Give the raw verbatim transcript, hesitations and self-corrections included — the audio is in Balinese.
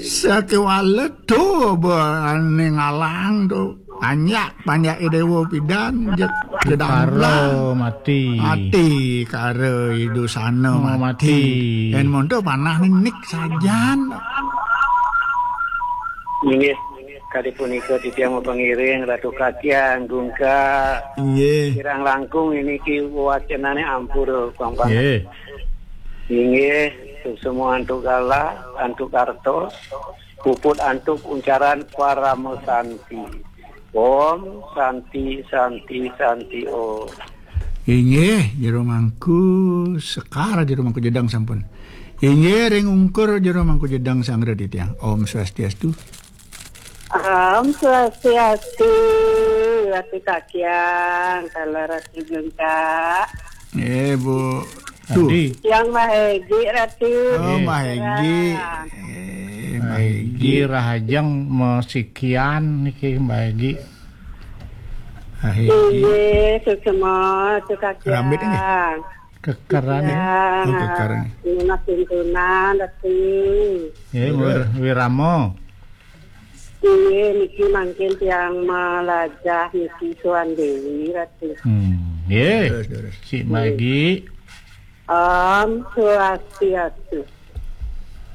Sakéwala to ba ané ngalang to. Panjak, panjaké déwa pidan, jeg, jedang Karo mati. Mati, karo idusana Oh, mati. Mati. Yén monto panah nik sajan. Inggih, kadi punika titiang mapangiring Ratu Kakian, Gungka. Inggih. Kirang langkung niki wacenané ampura, Bang Panah. Nggih. Inggih, suksma antuk galah, antuk artos, puput antuk uncaran parama santi. Om Santi, Santi, Santi, Om. Inggih, Jero Mangku Sekar, Jero Mangku Jedang sampun. Inggih, ring ungkur Jero Mangku Jedang sanggra titiang. Om Swastiastu. Om Swastiastu, Ratu Kakian, kala Ratu Gungka. Eh, Bu. Tuh. Adi. Yang Mbah Egi, Ratu. Oh, Mbah Egi. Ya. Eh, Mbah Egi Rahajeng masikian niki, Mbah Egi. Mbah Egi. Inggih, suksma, Ratu Kakian. Rambit ini. Kekeran ini. Ya. Oh, kekeran. Nunas tuntunan, Ratu. Ya, wir-, wirama. Inggih, niki mangkin tiang malajah niki Suan Dewi, Ratu. Hmm, nggih. Terus, terus. Sik Mbah Egi. Om Swastiastu.